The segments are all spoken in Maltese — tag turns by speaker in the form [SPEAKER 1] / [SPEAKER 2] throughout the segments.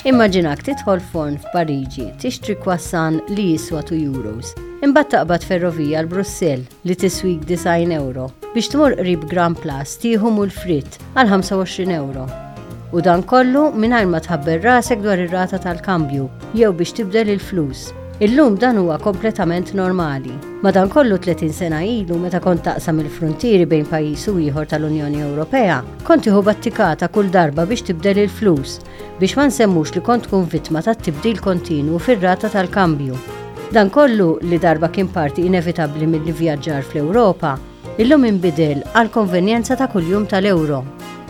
[SPEAKER 1] Immaġinak tidħol forn f'Pariġi tixtri croissant li jiswa 2 euros, imbagħad taqbad ferrovija għal Brussell li tiswik 90 euro biex tmur qrib Grand Place tieħu mul fritt għal 25 euro. U dan kollu mingħajr ma tħabber rasek dwar ir-rata tal-kambju jew biex tibdel il-flus. Illum dan huwa kompletament normali. Madankollu 30 sena ilu meta kont taqsam il-fruntieri bejn pajjiż u ieħor tal-Unjoni Ewropea, kont tieħu battikata kull darba biex tibdel il-flus, biex ma nsemmux li kont tkun vittma tat-tibdil kontinwu fir-rata tal-kambju. Dan kollu, li darba kien parti inevitabbli mill-ivvjaġġar fl-Ewropa, illum inbidel għall-konvenjenza ta' kuljum tal-euro.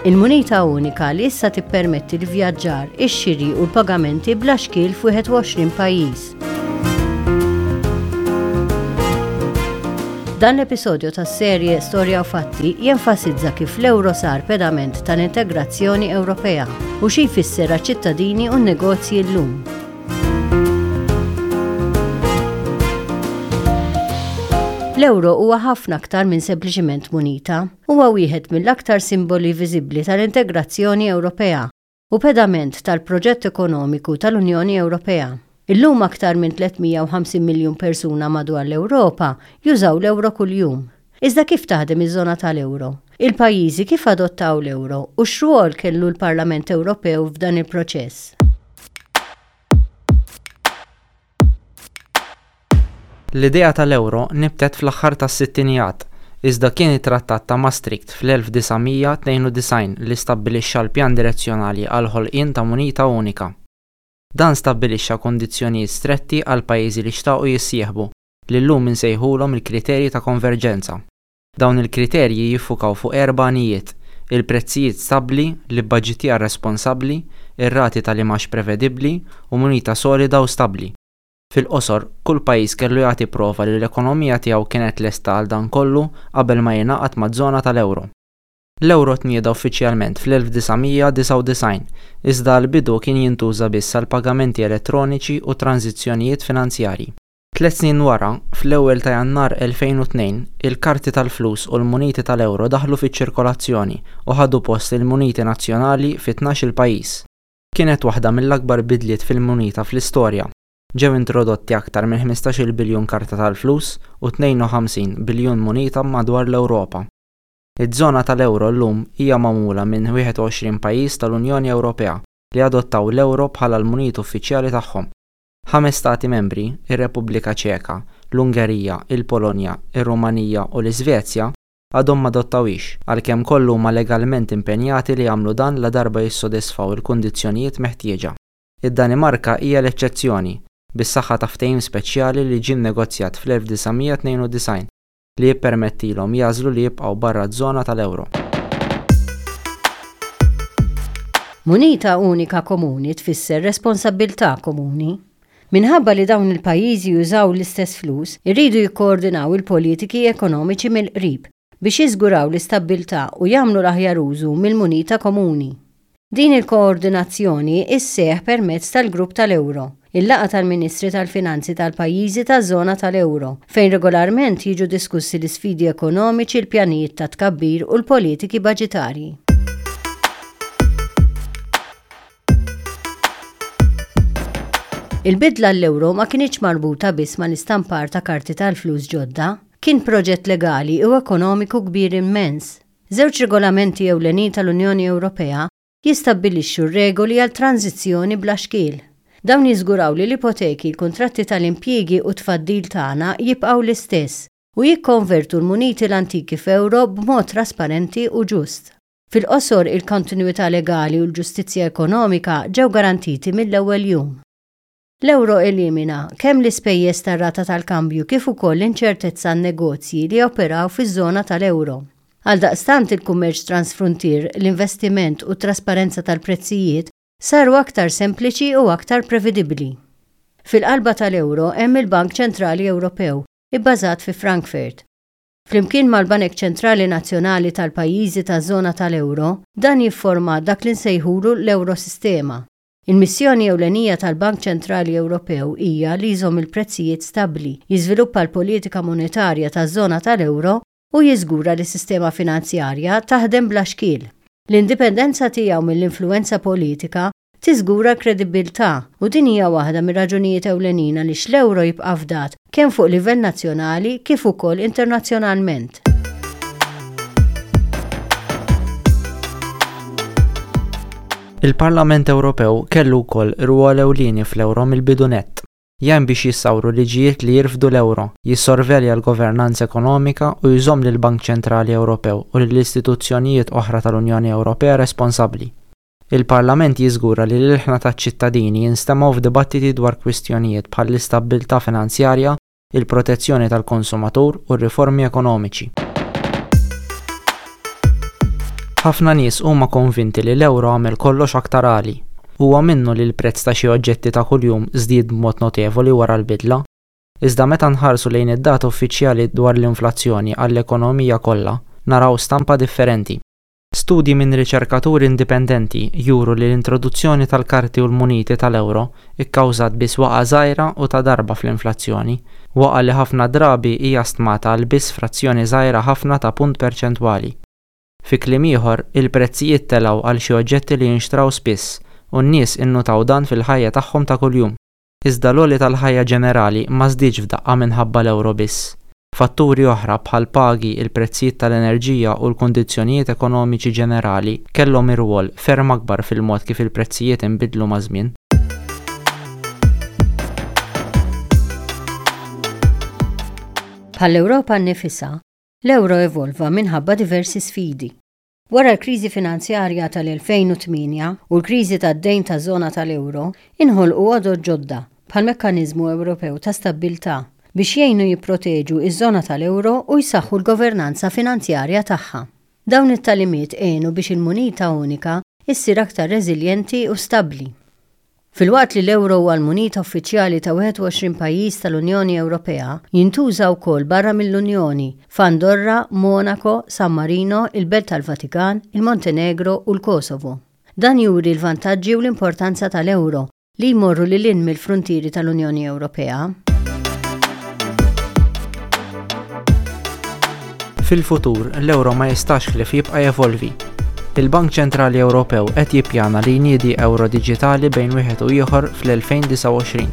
[SPEAKER 1] Il-munita unika li issa tippermetti l-ivvjaġġar, ix-xiri u l-pagamenti bla xkiel f'21 pajjiż. Dan l-episodju tas-serje Storja u Fatti jenfasizza kif l-euro sar pedament tal-integrazzjoni Ewropea u xi jfisser għaċ-ċittadini u n-negozji llum. L-euro huwa ħafna aktar minn sempliċiment munita. Huwa wieħed mill-aktar simboli viżibbli tal-integrazzjoni Ewropea u pedament tal-proġett ekonomiku tal-Unjoni Ewropea. Illum aktar minn 350 miljun persuna madwar l-Ewropa jużaw l-euro kuljum. Iżda kif taħdem iż-żona tal-euro? Il-pajjiżi kif adottaw l-euro u x'rwol kellu l-Parlament Ewropew f'dan il-proċess?
[SPEAKER 2] L-idea tal-euro nibtet fl-aħħar tas-sittinijat, iżda kien it-Trattat ta' Maastricht fl-1992 li stabbilixxa l-pjan direzzjonali għall-ħolqien ta' munita unika. Dan stabbilixxa kundizzjonijiet stretti għall-pajjiżi li xtaqu jissieħbu, li llum insejħulhom il-kriterji ta' konverġenza. Dawn il-kriterji jiffukaw fuq erba' għanijiet, il-prezzijiet stabbli, l-ibbaġitjar responsabbli, ir-rati tal-imgħax prevedibbli u munita solida u stabbli. Fil-qosor, kull pajjiż kellu jagħti prova li l-ekonomija tiegħu kienet lesta għal dan kollu qabel ma jingħaqad maż-żona tal-euro. L-euro tnieda uffiċjalment fl-1999, iżda għall-bidu kien jintuża biss għal pagamenti elettroniċi u tranżizzjonijiet finanzjarji. Tliet snin wara, fl-ewwel ta' Jannar 2002, il-karti tal-flus u l-muniti tal-euro daħlu fiċ-ċirkolazzjoni u ħadu post il-muniti nazzjonali fi tnax-il pajjiż. Kienet waħda mill-akbar bidliet fil-munita fl-istorja. Ġew introdotti aktar minn 15-il biljun karta tal-flus u 52 biljun munita madwar l-Ewropa. Iż-żona tal-euro llum hija magħmula minn 21 pajjiż tal-Unjoni Ewropea li adottaw l-euro bħala l-munita uffiċjali tagħhom. Ħames stati membri, ir-Repubblika Ċeka, l-Ungerija, il-Polonja, ir-Rumanija u l-Iżvezja, għadhom m'adottawhiex, għalkemm kollha huma legalment impenjati li jagħmlu dan ladarba jissodisfaw il-kundizzjonijiet meħtieġa. Id-Danimarka hija l-eċċezzjoni, bis-saħħa ta' ftehim speċjali li ġie nnegozjat fl-1992 li jippermettilhom jagħżlu li jibqgħu barra ż-żona tal-euro.
[SPEAKER 1] Munita unika komuni tfisser responsabbiltà komuni. Minħabba li dawn il-pajjiżi jużaw l-istess flus, iridu jikkoordinaw il-politiki ekonomiċi mill-qrib biex jiżguraw l-istabbiltà u jagħmlu l-aħjar użu mill-munita komuni. Din il-koordinazzjoni sseħħ permezz tal-Grupp tal-Euro, il-laqgħa tal-Ministri tal-Finanzi tal-pajjiżi taż-żona tal-euro, fejn regolarment jiġu diskussi l-isfidi ekonomiċi, il-pjanijiet ta' tkabbir u l-politiki baġitarji. Il-bidla għall-euro ma kinitx marbuta biss mal-istampar ta' karti tal-flus ġodda. Kien proġett legali u ekonomiku kbir immens. Żewġ regolamenti ewlenin tal-Unjoni Ewropea jistabbilixxu r-regoli għal tranżizzjoni bla xkiel. Dawn jiżguraw li l-ipoteki, il-kuntratti tal-impjiegi u t-tfaddil tagħna jibqgħu l-istess u jikkonvertu l-muniti l-antiki f'euro b'mod trasparenti u ġust. Fil-qosor, il-kontinwità legali u l-ġustizzja ekonomika ġew garantiti mill-ewwel jum. L-euro elimina kemm l-ispejjeż tar-rata tal-kambju kif ukoll l-inċertezza għan-negozji li joperaw fiż-żona tal-euro. Għaldaqstant il-kummerċ transfruntier, l-investiment u t-trasparenza tal-prezzijiet saru aktar sempliċi u aktar previdibbli. Fil-qalba tal-euro hemm il-Bank Ċentrali Ewropew, ibbażat fi Frankfurt. Flimkien mal-banek ċentrali nazzjonali tal-pajjiżi taż-żona tal-euro, dan jifforma dak li nsejħulu l-Eurosistema. Il-missjoni ewlenija tal-Bank Ċentrali Ewropew hija li jżomm il-prezzijiet stabbli, jiżviluppa l-politika monetarja taż-żona tal-euro u jiżgura li s-sistema finanzjarja taħdem bla xkiel. L-indipendenza tiegħu mill-influwenza politika. tiżgura l-kredibbiltà u din hija waħda mir-raġunijiet ewlenin għaliex l-euro jibqa' fdat kemm fuq livell nazzjonali kif ukoll internazzjonalment.
[SPEAKER 2] Il-Parlament Ewropew kellu wkoll rwol ewlieni fl-euro mill-bidu nett. Jgħin biex jissawru liġijiet li jirfdu l-euro, jissorvelja l-governanza ekonomika u jżomm lill-Bank Ċentrali Ewropew u lil istituzzjonijiet oħra tal-Unjoni Ewropea responsabbli. Il-Parlament jiżgura li l-ilħna taċ-ċittadini jinstemgħu f'dibattiti dwar kwistjonijiet bħall-istabbiltà finanzjarja, il-protezzjoni tal-konsumatur u r-riformi ekonomiċi. Ħafna nies huma konvinti li l-ewro għamel kollox aktar għali. Huwa minnu li l-prezz ta' xi oġġetti ta' kuljum żdied b'mod notevoli wara l-bidla. Iżda meta nħarsu lejn id-data uffiċjali dwar l-inflazzjoni għall-ekonomija kollha, naraw stampa differenti. Studji minn riċerkaturi indipendenti juru li l-introduzzjoni tal-karti u l-muniti tal-euro kkawżat biss waqgħa żgħira u ta' darba fl-inflazzjoni, waqgħa li ħafna drabi hija stmata għal biss frazzjoni żgħira ħafna ta' punt perċentwali. Fi kliem ieħor, il-prezzijiet telgħu għal xi oġġetti li jinxtraw spiss u n-nies innutaw dan fil-ħajja tagħhom ta' kuljum. Iżda l-għoli tal-ħajja ġenerali ma żdiedx f'daqqa minħabba l-ewro biss. Fatturi oħra bħall-pagi, il-prezzijiet tal-enerġija u l-kundizzjonijiet ekonomiċi ġenerali kellhom irwol ferm akbar fil-mod kif il-prezzijiet inbidlu maż-żmien.
[SPEAKER 1] Bħall-Ewropa nnifisha, l-ewro evolva minħabba diversi sfidi. Wara l-kriżi finanzjarja tal-2008 u l-kriżi tad-dejn taż-żona tal-euro, inħolqu għodod ġodda, bħall-Mekkaniżmu Ewropew ta' Stabbiltà, biex jgħinu jipproteġu ż-żona tal-euro u jsaħħu l-governanza finanzjarja tagħha. Dawn it-tagħlimiet għenu biex il-munita unika ssir aktar reżiljenti u stabbli. Filwaqt li l-euro huwa l-munita uffiċjali ta' 21 pajjiż tal-Unjoni Ewropea, jintuża wkoll barra mill-Unjoni, f'Andorra, Monaco, San Marino, il-Belt tal-Vatikan, il-Montenegro u l-Kosovo. Dan juri l-vantaġġi u l-importanza tal-euro, li jmorru lil hinn mill-fruntieri tal-Unjoni Ewropea.
[SPEAKER 2] Fil-futur, l-euro ma jistax ħlief jibqa' jevolvi. Il-Bank Ċentrali Ewropew qed jippjana li jniedi euro diġitali bejn wieħed u ieħor fl-2029.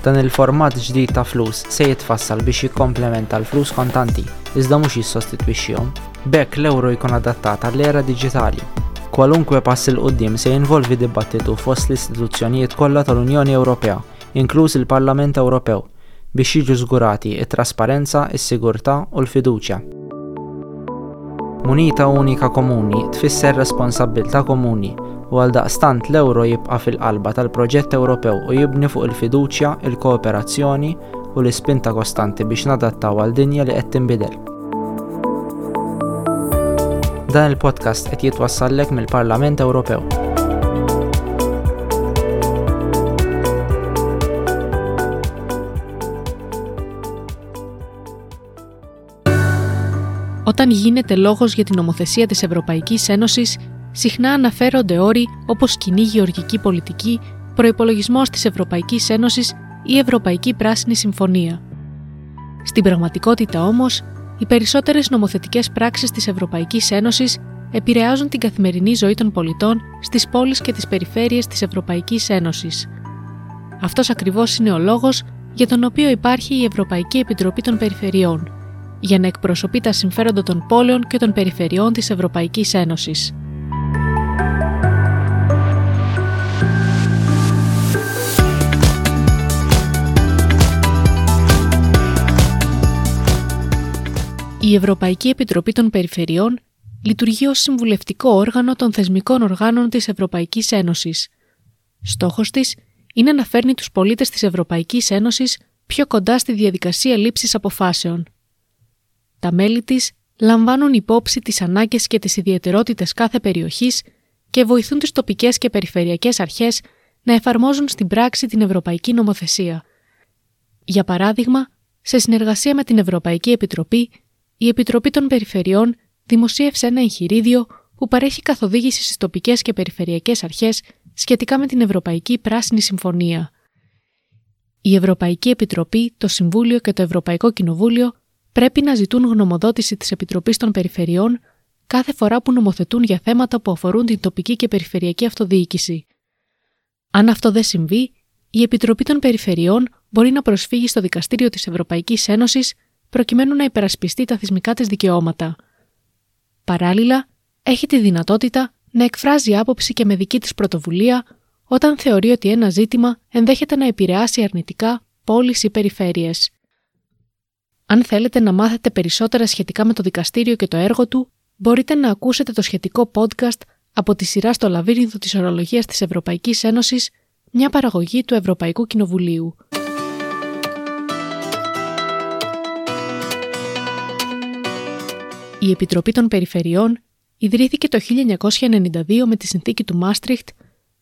[SPEAKER 2] Dan il-format ġdid ta' flus se jitfassal biex jikkomplementa l-flus kontanti, iżda mhux jissostitwixxihom. B'hekk l-euro jkun adattat għall-era diġitali. Kwalunkwe pass 'il quddiem se jinvolvi dibattitu fost l-istituzzjonijiet kollha tal-Unjoni Ewropea, inkluż il-Parlament Ewropew, biex jiġu żgurati t-trasparenza, is-sigurtà u l-fiduċja. Munita unika komuni tfisser responsabbiltà komuni u għaldaqstant l-euro jibqa' fil-qalba tal-proġett Ewropew u jibni fuq il-fiduċja, il-kooperazzjoni u l-ispinta kostanti biex nadattaw għal dinja li qed tinbidel. Dan il-podcast qed jitwassallek mill-Parlament Ewropew.
[SPEAKER 3] Όταν γίνεται λόγος για την νομοθεσία της Ευρωπαϊκής Ένωσης, συχνά αναφέρονται όροι όπως κοινή γεωργική πολιτική, προϋπολογισμός της Ευρωπαϊκής Ένωσης ή Ευρωπαϊκή Πράσινη Συμφωνία. Στην πραγματικότητα όμως, οι περισσότερες νομοθετικές πράξεις της Ευρωπαϊκής Ένωσης επηρεάζουν την καθημερινή ζωή των πολιτών στις πόλεις και τις περιφέρειες της Ευρωπαϊκής Ένωσης. Αυτός ακριβώς είναι ο λόγος για τον οποίο υπάρχει η Ευρωπαϊκή Επιτροπή των Περιφερειών, για να εκπροσωπεί τα συμφέροντα των πόλεων και των περιφερειών της Ευρωπαϊκής Ένωσης. Η Ευρωπαϊκή Επιτροπή των Περιφερειών λειτουργεί ως συμβουλευτικό όργανο των θεσμικών οργάνων της Ευρωπαϊκής Ένωσης. Στόχος της είναι να φέρνει τους πολίτες της Ευρωπαϊκής Ένωσης πιο κοντά στη διαδικασία λήψης αποφάσεων. Τα μέλη της λαμβάνουν υπόψη τις ανάγκες και τις ιδιαιτερότητες κάθε περιοχής και βοηθούν τις τοπικές και περιφερειακές αρχές να εφαρμόζουν στην πράξη την ευρωπαϊκή νομοθεσία. Για παράδειγμα, σε συνεργασία με την Ευρωπαϊκή Επιτροπή, η Επιτροπή των Περιφερειών δημοσίευσε ένα εγχειρίδιο που παρέχει καθοδήγηση στις τοπικές και περιφερειακές αρχές σχετικά με την Ευρωπαϊκή Πράσινη Συμφωνία. Η Ευρωπαϊκή Επιτροπή, το Συμβούλιο και το Ευρωπαϊκό Κοινοβούλιο πρέπει να ζητούν γνωμοδότηση της Επιτροπής των Περιφερειών κάθε φορά που νομοθετούν για θέματα που αφορούν την τοπική και περιφερειακή αυτοδιοίκηση. Αν αυτό δεν συμβεί, η Επιτροπή των Περιφερειών μπορεί να προσφύγει στο Δικαστήριο της Ευρωπαϊκής Ένωσης προκειμένου να υπερασπιστεί τα θεσμικά της δικαιώματα. Παράλληλα, έχει τη δυνατότητα να εκφράζει άποψη και με δική της πρωτοβουλία όταν θεωρεί ότι ένα ζήτημα ενδέχεται να επηρεάσει αρνητικά πόλεις ή περιφέρειες. Αν θέλετε να μάθετε περισσότερα σχετικά με το δικαστήριο και το έργο του, μπορείτε να ακούσετε το σχετικό podcast από τη σειρά στο Λαβύρινθο της Ορολογίας της Ευρωπαϊκής Ένωσης, μια παραγωγή του Ευρωπαϊκού Κοινοβουλίου. Η Επιτροπή των Περιφερειών ιδρύθηκε το 1992 με τη συνθήκη του Μάστριχτ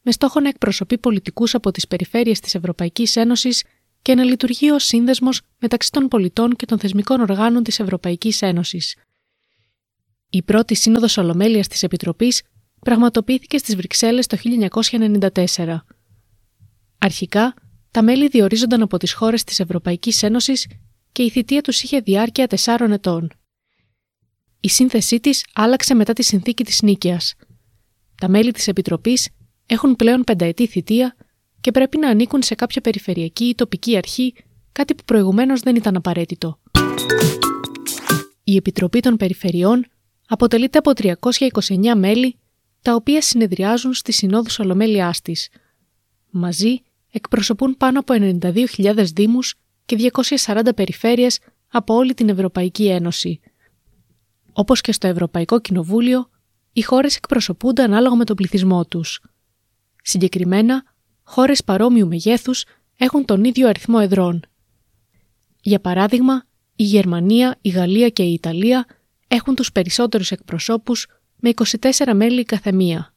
[SPEAKER 3] με στόχο να εκπροσωπεί πολιτικούς από τις περιφέρειες της Ευρωπαϊκής Ένωσης και να λειτουργεί ως σύνδεσμος μεταξύ των πολιτών και των θεσμικών οργάνων της Ευρωπαϊκής Ένωσης. Η πρώτη σύνοδος Ολομέλειας της Επιτροπής πραγματοποιήθηκε στις Βρυξέλλες το 1994. Αρχικά, τα μέλη διορίζονταν από τις χώρες της Ευρωπαϊκής Ένωσης και η θητεία τους είχε διάρκεια 4 ετών. Η σύνθεσή της άλλαξε μετά τη συνθήκη της Νίκαιας. Τα μέλη της Επιτροπής έχουν πλέον πενταετή θητεία και πρέπει να ανήκουν σε κάποια περιφερειακή ή τοπική αρχή, κάτι που προηγουμένως δεν ήταν απαραίτητο. Η Επιτροπή των Περιφερειών αποτελείται από 329 μέλη, τα οποία συνεδριάζουν στις συνόδους Ολομέλειάς της. Μαζί εκπροσωπούν πάνω από 92.000 δήμους και 240 περιφέρειες από όλη την Ευρωπαϊκή Ένωση. Όπως και στο Ευρωπαϊκό Κοινοβούλιο, οι χώρες εκπροσωπούνται ανάλογα με τον πληθυσμό τους. Συγκεκριμένα, χώρες παρόμοιου μεγέθους έχουν τον ίδιο αριθμό εδρών. Για παράδειγμα, η Γερμανία, η Γαλλία και η Ιταλία έχουν τους περισσότερους εκπροσώπους με 24 μέλη η καθεμία.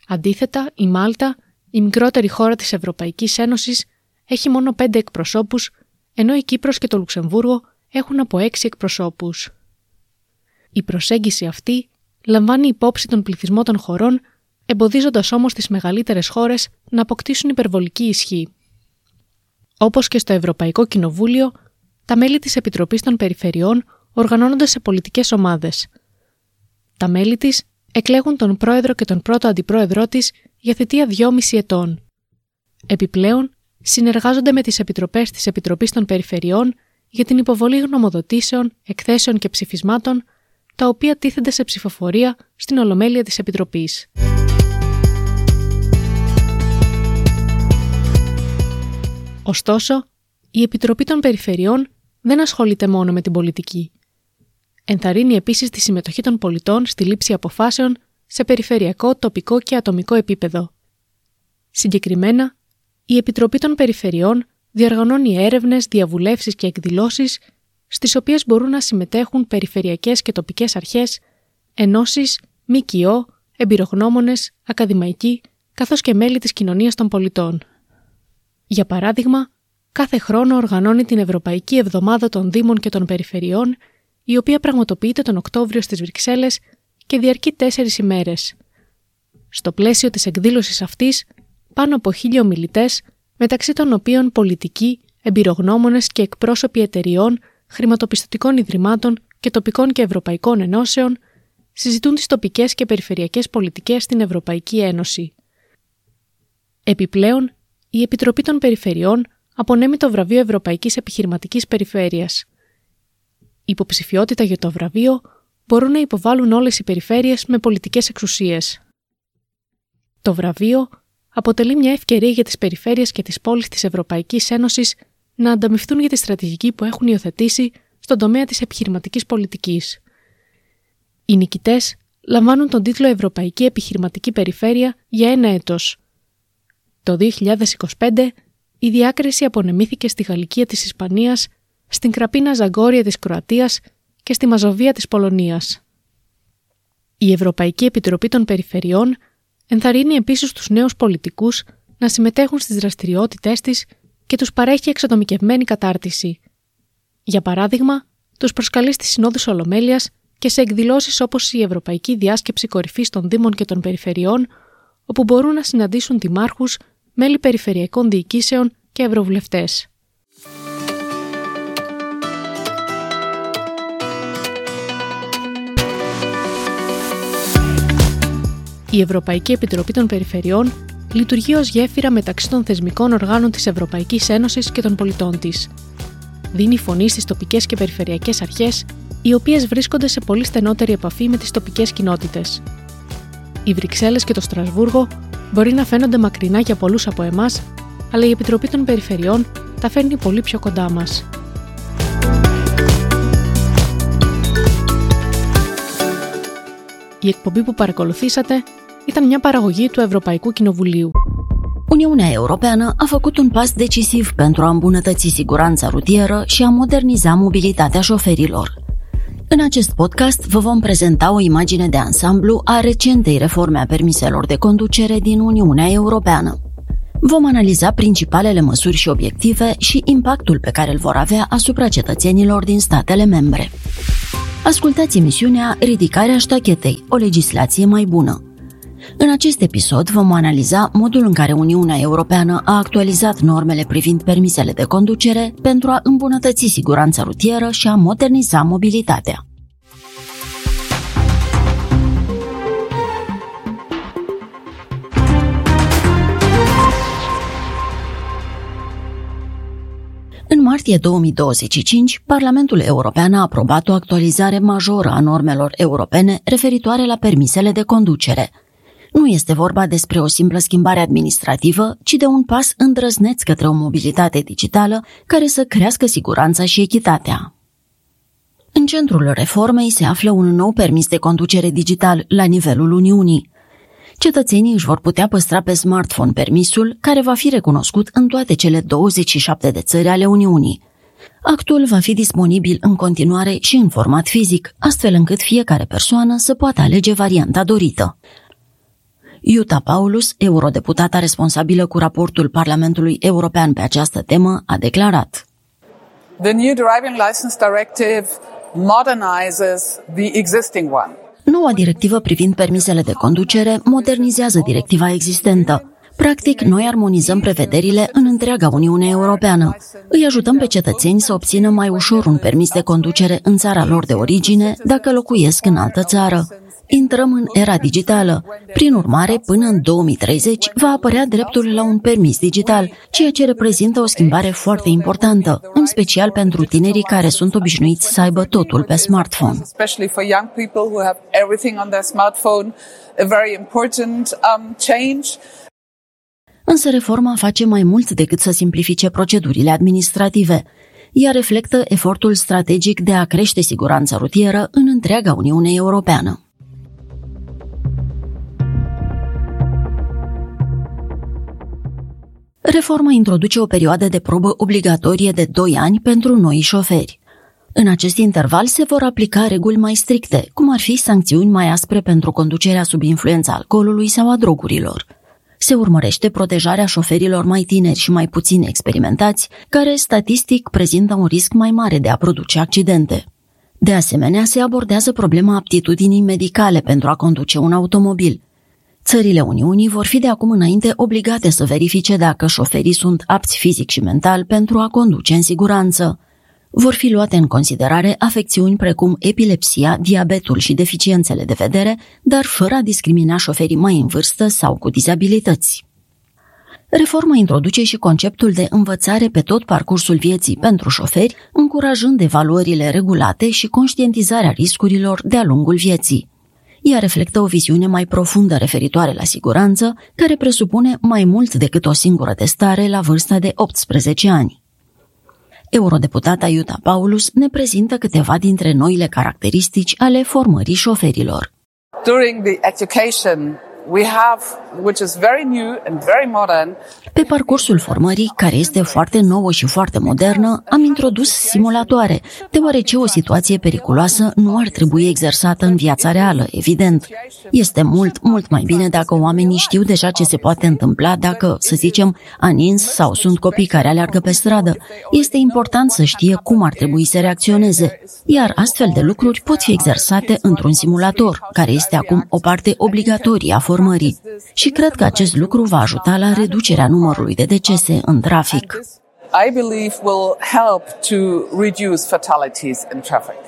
[SPEAKER 3] Αντίθετα, η Μάλτα, η μικρότερη χώρα της Ευρωπαϊκής Ένωσης, έχει μόνο 5 εκπροσώπους, ενώ η Κύπρος και το Λουξεμβούργο έχουν από 6 εκπροσώπους. Η προσέγγιση αυτή λαμβάνει υπόψη τον πληθυσμό των χωρών, εμποδίζοντας όμως τις μεγαλύτερες χώρες να αποκτήσουν υπερβολική ισχύ. Όπως και στο Ευρωπαϊκό Κοινοβούλιο, τα μέλη της Επιτροπής των Περιφερειών οργανώνονται σε πολιτικές ομάδες. Τα μέλη της εκλέγουν τον πρόεδρο και τον πρώτο αντιπρόεδρό της για θητεία 2,5 ετών. Επιπλέον, συνεργάζονται με τις επιτροπές της Επιτροπής των Περιφερειών για την υποβολή γνωμοδοτήσεων, εκθέσεων και ψηφισμάτων, τα οποία τίθενται σε ψηφοφορία στην Ολομέλεια της Επιτροπής. Ωστόσο, η Επιτροπή των Περιφερειών δεν ασχολείται μόνο με την πολιτική. Ενθαρρύνει επίσης τη συμμετοχή των πολιτών στη λήψη αποφάσεων σε περιφερειακό, τοπικό και ατομικό επίπεδο. Συγκεκριμένα, η Επιτροπή των Περιφερειών διοργανώνει έρευνες, διαβουλεύσεις και εκδηλώσεις, στις οποίες μπορούν να συμμετέχουν περιφερειακές και τοπικές αρχές, ενώσεις, ΜΚΟ, εμπειρογνώμονες, ακαδημαϊκοί, καθώς και μέλη της κοινωνίας των πολιτών. Για παράδειγμα, κάθε χρόνο οργανώνει την Ευρωπαϊκή Εβδομάδα των Δήμων και των Περιφερειών, η οποία πραγματοποιείται τον Οκτώβριο στις Βρυξέλλες και διαρκεί 4 ημέρες. Στο πλαίσιο της εκδήλωσης αυτής, πάνω από 1.000 ομιλητές, μεταξύ των οποίων πολιτικοί, εμπειρογνώμονες και εκπρόσωποι εταιριών, χρηματοπιστωτικών ιδρυμάτων και τοπικών και ευρωπαϊκών ενώσεων, συζητούν τις τοπικές και περιφερειακές πολιτικές στην Ευρωπαϊκή Ένωση. Επιπλέον, η Επιτροπή των Περιφερειών απονέμει το βραβείο Ευρωπαϊκής Επιχειρηματικής Περιφέρειας. Υποψηφιότητα για το βραβείο μπορούν να υποβάλουν όλες οι περιφέρειες με πολιτικές εξουσίες. Το βραβείο αποτελεί μια ευκαιρία για τις περιφέρειες και τις πόλεις της Ευρωπαϊκής Ένωσης να ανταμειφθούν για τη στρατηγική που έχουν υιοθετήσει στον τομέα της επιχειρηματικής πολιτικής. Οι νικητές λαμβάνουν τον τίτλο Ευρωπαϊκή Επιχειρηματική Περιφέρεια για 1 έτος. Το 2025 η διάκριση απονεμήθηκε στη Γαλλικία της Ισπανίας, στην Κραπίνα Ζαγκόρια της Κροατίας και στη Μαζοβία της Πολωνίας. Η Ευρωπαϊκή Επιτροπή των Περιφερειών ενθαρρύνει επίσης τους νέους πολιτικούς να συμμετέχουν στις δραστηριότητές της και τους παρέχει εξατομικευμένη κατάρτιση. Για παράδειγμα, τους προσκαλεί στις συνόδους Ολομέλειας και σε εκδηλώσεις όπως η Ευρωπαϊκή Διάσκεψη Κορυφής των Δήμων και των Περιφερειών, όπου μπορούν να συναντήσουν δημάρχους, μέλη περιφερειακών διοικήσεων και ευρωβουλευτές. Η Ευρωπαϊκή Επιτροπή των Περιφερειών λειτουργεί ως γέφυρα μεταξύ των θεσμικών οργάνων της Ευρωπαϊκής Ένωσης και των πολιτών της. Δίνει φωνή στις τοπικές και περιφερειακές αρχές, οι οποίες βρίσκονται σε πολύ στενότερη επαφή με τις τοπικές κοινότητες. Οι Βρυξέλλες και το Στρασβούργο μπορεί να φαίνονται μακρινά για πολλούς από εμάς, αλλά η Επιτροπή των Περιφερειών τα φέρνει πολύ πιο κοντά μας. Η εκπομπή που παρακολουθήσατε ήταν μια παραγωγή του Ευρωπαϊκού Κοινοβουλίου.
[SPEAKER 1] Uniunea Europeană a făcut un pas decisiv pentru a îmbunătăți siguranța rutieră și a moderniza mobilitatea șoferilor. În acest podcast vă vom prezenta o imagine de ansamblu a recentei reforme a permiselor de conducere din Uniunea Europeană. Vom analiza principalele măsuri și obiective și impactul pe care îl vor avea asupra cetățenilor din statele membre. Ascultați emisiunea Ridicarea ștachetei, o legislație mai bună. În acest episod vom analiza modul în care Uniunea Europeană a actualizat normele privind permisele de conducere pentru a îmbunătăți siguranța rutieră și a moderniza mobilitatea. În martie 2025, Parlamentul European a aprobat o actualizare majoră a normelor europene referitoare la permisele de conducere. Nu este vorba despre o simplă schimbare administrativă, ci de un pas îndrăzneț către o mobilitate digitală care să crească siguranța și echitatea. În centrul reformei se află un nou permis de conducere digital la nivelul Uniunii. Cetățenii își vor putea păstra pe smartphone permisul, care va fi recunoscut în toate cele 27 de țări ale Uniunii. Actul va fi disponibil în continuare și în format fizic, astfel încât fiecare persoană să poată alege varianta dorită. Jutta Paulus, eurodeputata responsabilă cu raportul Parlamentului European pe această temă, a declarat:
[SPEAKER 4] The new driving license directive modernizes the existing one.
[SPEAKER 1] Noua directivă privind permisele de conducere modernizează directiva existentă. Practic, noi armonizăm prevederile în întreaga Uniune Europeană. Îi ajutăm pe cetățeni să obțină mai ușor un permis de conducere în țara lor de origine, dacă locuiesc în altă țară. Intrăm în era digitală. Prin urmare, până în 2030 va apărea dreptul la un permis digital, ceea ce reprezintă o schimbare foarte importantă, în special pentru tinerii care sunt obișnuiți să aibă totul pe smartphone.
[SPEAKER 4] Especially for young people who have everything on their smartphone, a very important change.
[SPEAKER 1] Însă reforma face mai mult decât să simplifice procedurile administrative. Ea reflectă efortul strategic de a crește siguranța rutieră în întreaga Uniune Europeană. Reforma introduce o perioadă de probă obligatorie de 2 ani pentru noi șoferi. În acest interval se vor aplica reguli mai stricte, cum ar fi sancțiuni mai aspre pentru conducerea sub influența alcoolului sau a drogurilor. Se urmărește protejarea șoferilor mai tineri și mai puțin experimentați, care statistic prezintă un risc mai mare de a produce accidente. De asemenea, se abordează problema aptitudinii medicale pentru a conduce un automobil. Țările Uniunii vor fi de acum înainte obligate să verifice dacă șoferii sunt apți fizic și mental pentru a conduce în siguranță. Vor fi luate în considerare afecțiuni precum epilepsia, diabetul și deficiențele de vedere, dar fără a discrimina șoferii mai în vârstă sau cu dizabilități. Reforma introduce și conceptul de învățare pe tot parcursul vieții pentru șoferi, încurajând evaluările regulate și conștientizarea riscurilor de-a lungul vieții. Ea reflectă o viziune mai profundă referitoare la siguranță, care presupune mai mult decât o singură testare la vârsta de 18 ani. Eurodeputata Jutta Paulus ne prezintă câteva dintre noile caracteristici ale formării șoferilor.
[SPEAKER 4] During the education we have, which is very new and very modern.
[SPEAKER 1] Pe parcursul formării, care este foarte nouă și foarte modernă, am introdus simulatoare, deoarece o situație periculoasă nu ar trebui exersată în viața reală, evident. Este mult, mult mai bine dacă oamenii știu deja ce se poate întâmpla dacă, să zicem, a nins sau sunt copii care aleargă pe stradă. Este important să știe cum ar trebui să reacționeze, iar astfel de lucruri pot fi exersate într-un simulator, care este acum o parte obligatorie a formării. Și cred că acest lucru va ajuta la reducerea numărului de decese în trafic.
[SPEAKER 4] I believe will help to reduce fatalities in traffic.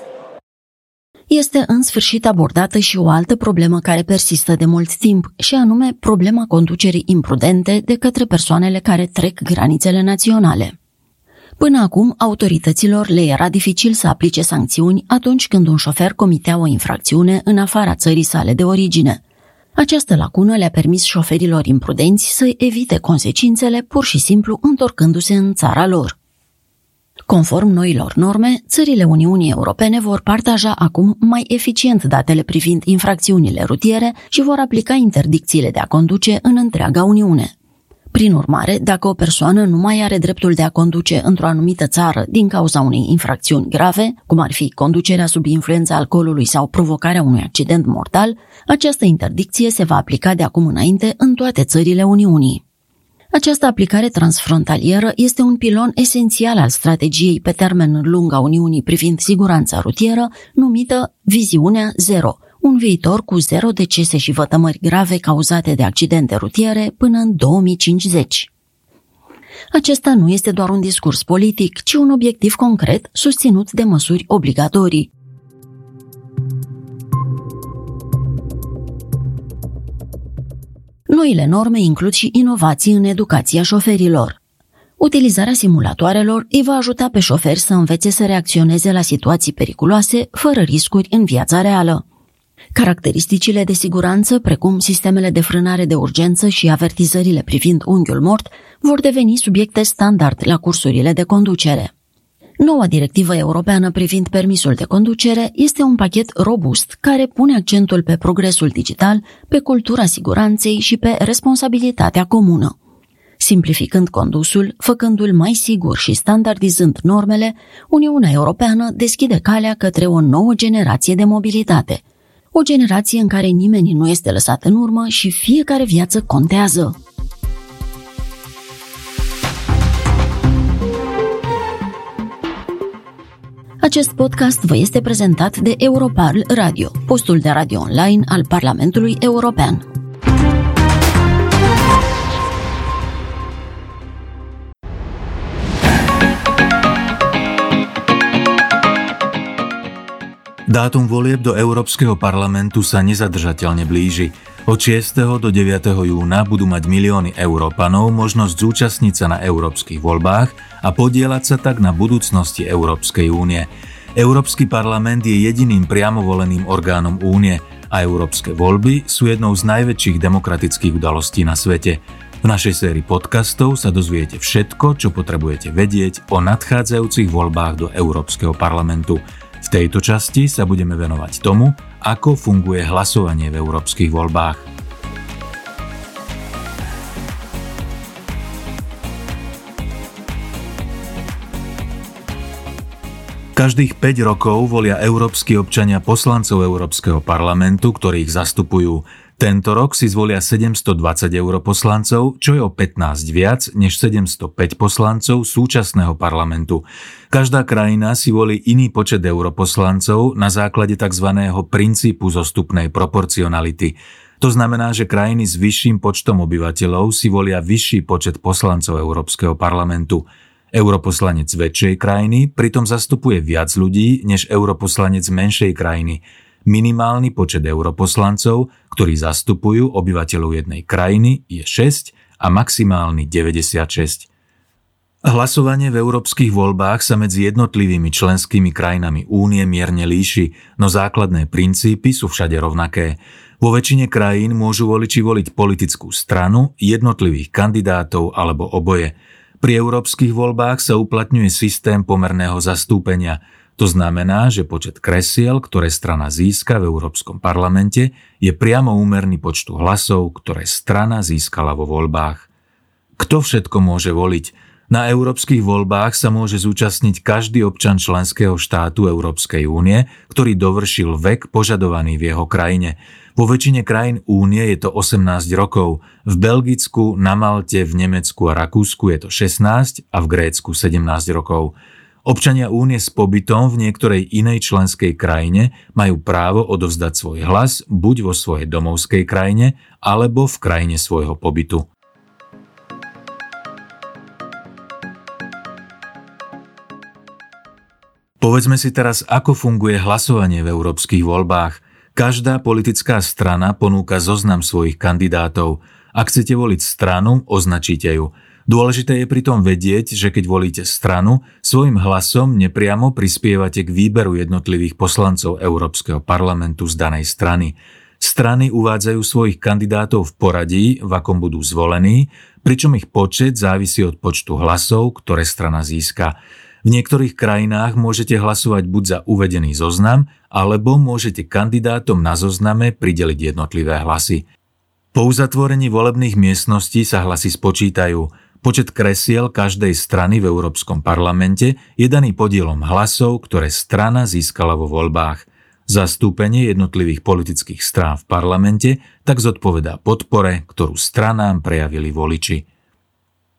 [SPEAKER 5] Este în sfârșit abordată și o altă problemă care persistă de mult timp, și anume problema conducerii imprudente de către persoanele care trec granițele naționale. Până acum, autorităților le era dificil să aplice sancțiuni atunci când un șofer comitea o infracțiune în afara țării sale de origine. Această lacună le-a permis șoferilor imprudenți să evite consecințele pur și simplu întorcându-se în țara lor. Conform noilor norme, țările Uniunii Europene vor partaja acum mai eficient datele privind infracțiunile rutiere și vor aplica interdicțiile de a conduce în întreaga Uniune. Prin urmare, dacă o persoană nu mai are dreptul de a conduce într-o anumită țară din cauza unei infracțiuni grave, cum ar fi conducerea sub influența alcoolului sau provocarea unui accident mortal, această interdicție se va aplica de acum înainte în toate țările Uniunii. Această aplicare transfrontalieră este un pilon esențial al strategiei pe termen lung a Uniunii privind siguranța rutieră, numită Viziunea Zero, un viitor cu zero decese și vătămări grave cauzate de accidente rutiere până în 2050. Acesta nu este doar un discurs politic, ci un obiectiv concret susținut de măsuri obligatorii. Noile norme includ și inovații în educația șoferilor. Utilizarea simulatoarelor îi va ajuta pe șoferi să învețe să reacționeze la situații periculoase, fără riscuri în viața reală. Caracteristicile de siguranță, precum sistemele de frânare de urgență și avertizările privind unghiul mort, vor deveni subiecte standard la cursurile de conducere. Noua directivă europeană privind permisul de conducere este un pachet robust care pune accentul pe progresul digital, pe cultura siguranței și pe responsabilitatea comună. Simplificând condusul, făcându-l mai sigur și standardizând normele, Uniunea Europeană deschide calea către o nouă generație de mobilitate. O generație în care nimeni nu este lăsat în urmă și fiecare viață contează. Acest podcast vă este prezentat de Europarl Radio, postul de radio online al Parlamentului European.
[SPEAKER 6] Dátum volieb do Európskeho parlamentu sa nezadržateľne blíži. Od 6. do 9. júna budú mať milióny Európanov možnosť zúčastniť sa na európskych voľbách a podieľať sa tak na budúcnosti Európskej únie. Európsky parlament je jediným priamo voleným orgánom únie a európske voľby sú jednou z najväčších demokratických udalostí na svete. V našej sérii podcastov sa dozviete všetko, čo potrebujete vedieť o nadchádzajúcich voľbách do Európskeho parlamentu. V tejto časti sa budeme venovať tomu, ako funguje hlasovanie v európskych voľbách. Každých 5 rokov volia európski občania poslancov Európskeho parlamentu, ktorí ich zastupujú. Tento rok si zvolia 720 europoslancov, čo je o 15 viac než 705 poslancov súčasného parlamentu. Každá krajina si volí iný počet europoslancov na základe tzv. Princípu zostupnej proporcionality. To znamená, že krajiny s vyšším počtom obyvateľov si volia vyšší počet poslancov Európskeho parlamentu. Europoslanec väčšej krajiny pritom zastupuje viac ľudí než europoslanec menšej krajiny. Minimálny počet europoslancov, ktorí zastupujú obyvateľov jednej krajiny, je 6 a maximálny 96. Hlasovanie v európskych voľbách sa medzi jednotlivými členskými krajinami únie mierne líši, no základné princípy sú všade rovnaké. Vo väčšine krajín môžu voliči voliť politickú stranu, jednotlivých kandidátov alebo oboje. Pri európskych voľbách sa uplatňuje systém pomerného zastúpenia. To znamená, že počet kresiel, ktoré strana získa v Európskom parlamente, je priamo úmerný počtu hlasov, ktoré strana získala vo voľbách. Kto všetko môže voliť? Na európskych voľbách sa môže zúčastniť každý občan členského štátu Európskej únie, ktorý dovršil vek požadovaný v jeho krajine. Vo väčšine krajín únie je to 18 rokov, v Belgicku, na Malte, v Nemecku a Rakúsku je to 16 a v Grécku 17 rokov. Občania únie s pobytom v niektorej inej členskej krajine majú právo odovzdať svoj hlas buď vo svojej domovskej krajine, alebo v krajine svojho pobytu. Povedzme si teraz, ako funguje hlasovanie v európskych voľbách. Každá politická strana ponúka zoznam svojich kandidátov. Ak chcete voliť stranu, označíte ju. Dôležité je pritom vedieť, že keď volíte stranu, svojim hlasom nepriamo prispievate k výberu jednotlivých poslancov Európskeho parlamentu z danej strany. Strany uvádzajú svojich kandidátov v poradí, v akom budú zvolení, pričom ich počet závisí od počtu hlasov, ktoré strana získa. V niektorých krajinách môžete hlasovať buď za uvedený zoznam, alebo môžete kandidátom na zozname prideliť jednotlivé hlasy. Po uzatvorení volebných miestností sa hlasy spočítajú. Počet kresiel každej strany v Európskom parlamente je daný podielom hlasov, ktoré strana získala vo voľbách. Zastúpenie jednotlivých politických strán v parlamente tak zodpovedá podpore, ktorú stranám prejavili voliči.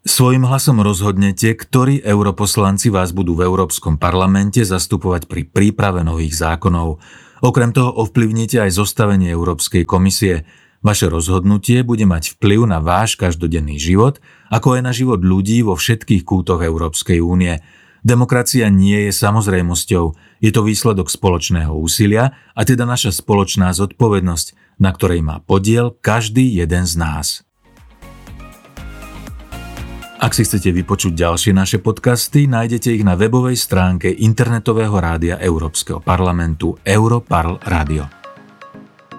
[SPEAKER 6] Svojím hlasom rozhodnete, ktorí europoslanci vás budú v Európskom parlamente zastupovať pri príprave nových zákonov. Okrem toho ovplyvníte aj zostavenie Európskej komisie. Vaše rozhodnutie bude mať vplyv na váš každodenný život, ako aj na život ľudí vo všetkých kútoch Európskej únie. Demokracia nie je samozrejmosťou, je to výsledok spoločného úsilia a teda naša spoločná zodpovednosť, na ktorej má podiel každý jeden z nás. Ak si chcete vypočuť ďalšie naše podcasty, nájdete ich na webovej stránke internetového rádia Európskeho parlamentu Europarl Radio.